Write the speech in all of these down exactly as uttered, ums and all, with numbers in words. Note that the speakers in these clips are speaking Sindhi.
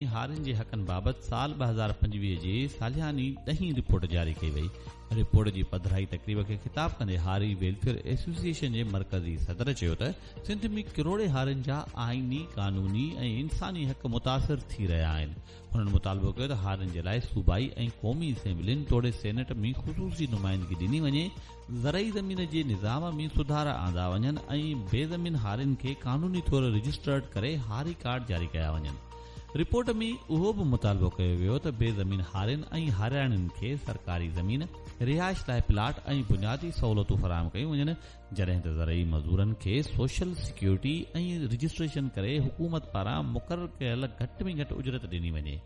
هارين جي حقن بابت سال ٻه هزار پنجويهه جي سالياني ڏهين رپورٽ جاري ڪئي وئي. رپورٽ جي پڌرائي تقريب کي خطاب ڪندي هاري ويلفيئر ايسوسيئيشن جي مرڪزي صدر چيو ته سنڌ ۾ ڪروڙين هارين جا آئيني، قانوني ۽ انساني حق متاثر ٿي رهيا آهن. هنن مطالبو ڪيو ته هارين جي لاءِ صوبائي ۽ قومي اسيمبلين توڙي سينيٽ ۾ خصوصي نمائندگي ڏني وڃي، زرعي زمين جي نظام ۾ سڌارا آندا وڃن ۽ بي زمين هارين کي قانوني طور رجسٽرڊ ڪري هاري ڪارڊ جاري ڪيا وڃن. رپورٽ ۾ اهو به مطالبو ڪيو ويو ته بي زمين هارين ۽ هارياڻين کي سرڪاري زمين، رهائش لاءِ پلاٽ ۽ بنيادي سهولتون فراهم ڪيون وڃن، جڏهن ته زرعي مزدورن کي سوشل سيڪيورٽي ۽ رجسٽريشن ڪري حڪومت پاران مقرر ڪيل گهٽ ۾ گهٽ اجرت ڏني وڃي.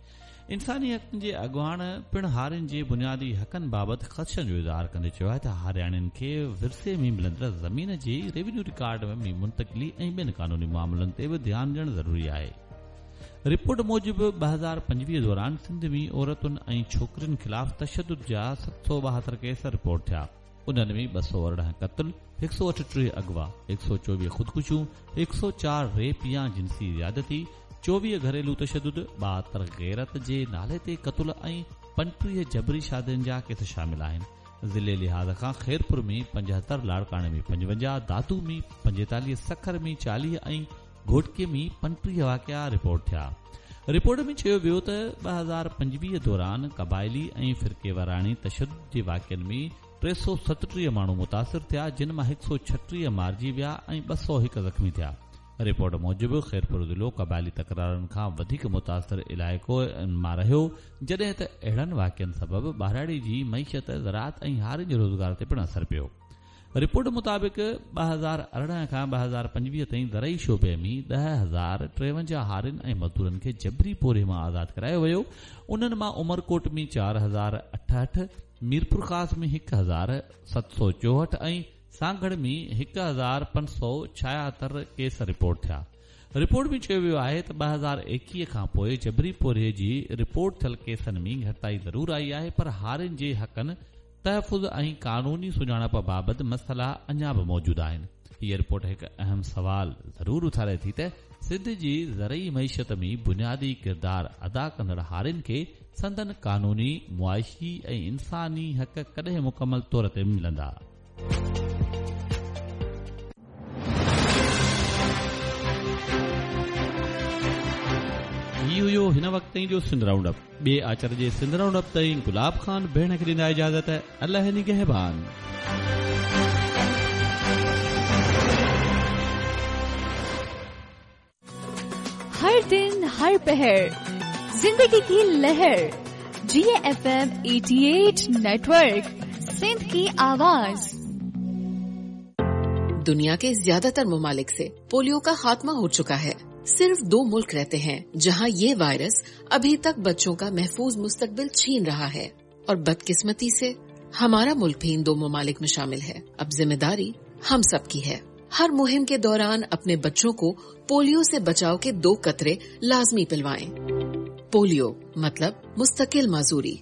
انساني حقن جي اڳواڻ پڻ هارين جي بنيادي حقن بابت خدشن جو اظهار ڪندي چيو آهي ته هارياڻين کي ورثي ۾ ملندڙ زمين جي ريونيو رڪارڊ ۾ منتقلي ۽ ٻين قانوني معاملن تي به ڌيان ڏيڻ ضروري آهي. رپورٽ موجب ٻه هزار پنجويهه دوران سنڌ ۾ عورتن ۽ ڇوڪرين خلاف تشدد جا ست سؤ ٻاهتر ڪيس رپورٽ ٿيا. انهن ۾ ٻه سؤ ارڙهن قتل، هڪ سؤ اٺٽيهه اغوا، هڪ سؤ چوويهه خودڪشيون، هڪ سؤ چار ريپ يا جنسي زيادتي، چوويهه گهريلو تشدد، ٻاهتر غيرت جي نالي تي قتل ۽ پنجٽيهه جبري شادين جا ڪيس شامل آهن. ضلعي لحاظ کان خيرپور ۾ پنجهتر، لاڙڪاڻي ۾ پنجونجاهه، دادو ۾ پنجيتاليهه، سکر ۾ چاليهه ۽ گهوٽڪي ۾ پنجٽيهه واقعا رپورٽ ٿيا. رپورٽ ۾ چيو ويو ته ٻه هزار پنجويهه دوران قبائلي ۽ فرقيواراڻي تشدد جي واقعن ۾ ٽي سؤ ستٽيهه ماڻهو متاثر ٿيا، جن مان هڪ سؤ ڇٽيهه مارجي ويا ۽ ٻه سؤ هڪ زخمي ٿيا. رپورٽ موجب خيرپور ضلعو قبائلي تڪرارن کان وڌيڪ متاثر علائقو مان رهيو، جڏهن ته اهڙن واقعن سبب ٻهراڙي جي معيشت، زراعت ۽ هارين جي روزگار تي پڻ اثر پيو. رپورٽ مطابق ٻه هزار ارڙهن کان ٻه هزار پنجويهه تائين زرعي شعبي ۾ ڏهه هزار ٽيونجاهه هارين ۽ مزدورن کي جبري پورهيي مان آزاد ڪرايو ويو. انهن مان عمرڪوٽ ۾ چار هزار اٺهٺ، ميرپورخاص ۾ هڪ هزار ست سؤ چوهٺ ۽ سانگهڙ ۾ هڪ هزار پنج سؤ ڇاهتر ڪيس رپورٽ ٿيا. رپورٽ ۾ چيو ويو آهي ته ٻه هزار ايڪويهه کان پوءِ جبري پورهيي جي رپورٽ ٿيل ڪيسن ۾ گهٽتائي ضرور آئي آهي، پر هارين جي حقن، تحفظ ۽ قانوني سڃاڻپ بابت مسئلا اڃا به موجود آهن. هيءَ رپورٽ هڪ اهم سوال ضرور اٿاري ٿي ته سنڌ جي زرعي معيشت ۾ بنيادي ڪردار ادا ڪندڙ هارين کي سندن قانوني، معاشي ۽ انساني حق ڪڏهن مڪمل طور تي ملندا. هي هيو هن وقت تائين جو سنڌ رائونڊ اپ. ٻئي آچر جي سنڌ رائونڊ اپ تائين گلاب خان ڀيڻ کي ڏيندا اجازت. الله نگهبان. हर दिन हर पहर जिंदगी की लहर जी एफ एम अठासी नेटवर्क सिंध की आवाज। दुनिया के ज्यादातर ममालिक से पोलियो का खात्मा हो चुका है। सिर्फ दो मुल्क रहते हैं जहां ये वायरस अभी तक बच्चों का महफूज मुस्तकबिल छीन रहा है और बदकिस्मती से हमारा मुल्क भी इन दो ममालिक में शामिल है। अब जिम्मेदारी हम सब की है। हर मुहिम के दौरान अपने बच्चों को पोलियो से बचाव के दो कतरे लाजमी पिलवाएं। पोलियो मतलब मुस्तकिल माजूरी।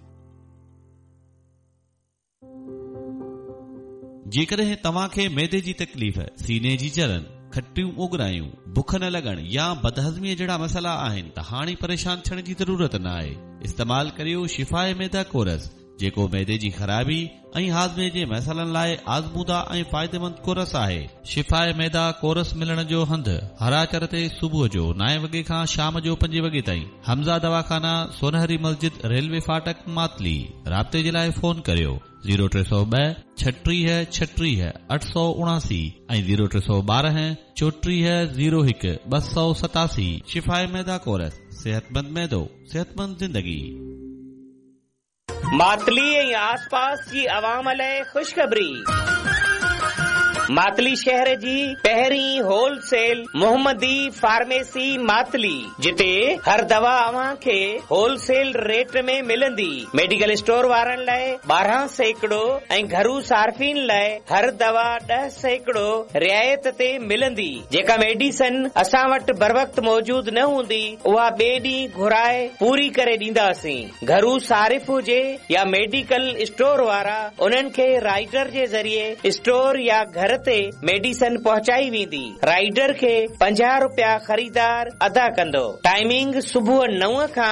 जेकॾहिं तव्हांखे मैदे जी तकलीफ़, सीने जी जलन, खटियूं ओगरायूं, बुख न लॻण या बदहज़मीअ जहिड़ा मसइला आहिनि त हाणे परेशान थियण जी ज़रूरत न आहे। इस्तेमाल करियो शिफाए मैदा कोरस, जेको मैदे जी ख़राबी ऐं हाज़मे जे मसइलनि लाइ आज़मूदा ऐं फ़ाइदेमंद कोरस आहे। शिफाए मैदा कोरस मिलण जो हंधु हर आचर ते सुबुह जो नाइन वॻे खां शाम जो पंजे वॻे ताईं। हमज़ा दवाखाना, सोनहरी मस्जिद, रेलवे फाटक, मातली। राब्ते जे लाइ फ़ोन करियो ज़ीरो टे सौ ॿ छटीह छटीह अठ सौ उणासी ऐं ज़ीरो टे सौ ॿारहं चोटीह ज़ीरो हिकु ॿ सौ सतासी। शिफाए मैदा कोरस, सेहतमंद मैदो, सेहतमंद ज़िंदगी। मातली ऐं आसपास जी अवाम लाइ ख़ुशख़बरी। मातली शहर जी पहिरीं होलसेल मोहम्मदी फार्मेसी मातली, जिते हर दवा अव्हां खे होलसेल रेट में मिलंदी। मेडिकल स्टोर वारनि लाइ ॿारहं सैकड़ो ऐं घरू सार्फिन लाइ हर दवा ॾह सैकड़ो रिआयत ते मिलंदी। जेका मेडिसन असां वटि बरवक़्त मौजूद न हूंदी उहा ॿिए ॾींहुं घुराए पूरी करे ॾींदासीं। घरू सारिफ हुजे या मेडिकल स्टोर वारा, उन्हनि खे राइडर जे ज़रिए स्टोर या घर در ते मेडिसन पहुचाई वेंदी। राइडर खे पंजाह रुपया ख़रीदार अदा कंदो। टाइमिंग सुबुह नौ खां